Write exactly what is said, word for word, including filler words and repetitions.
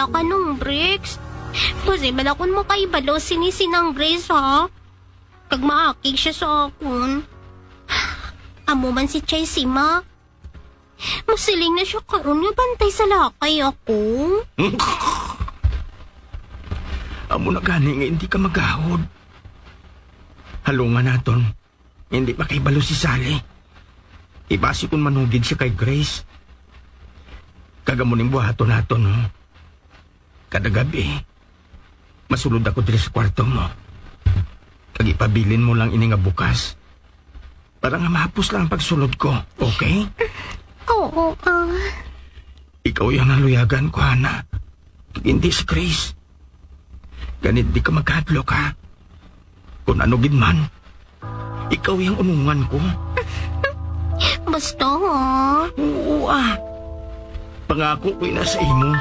ka nung, Bricks. Posible akon makahibalo sini si Nang Grace, ha? Kag maakig siya sa akon. Amo man si Chesima. Masiling na siya karon nga bantay sa lakay ako. Amo na gani nga hindi ka magahod. Halungan naton. Hindi pa kay balo si Sally. Ibasi kung manugid siya kay Grace. Kag amo ning buhaton naton, no? Kada gabi, masulod ako diri sa kwarto mo. Kag ipabilin mo lang ini nga bukas. Para nga mahapos lang ang pagsulod ko, okay? Oo, ah. Ikaw yung naluyagan ko, Hana. Kag hindi si Chris. Ganit di ka magkadlok, ha? Kung ano gid man, ikaw yung unungan ko. Basta, ha? Oo, ah. Pangako ko na sa imo.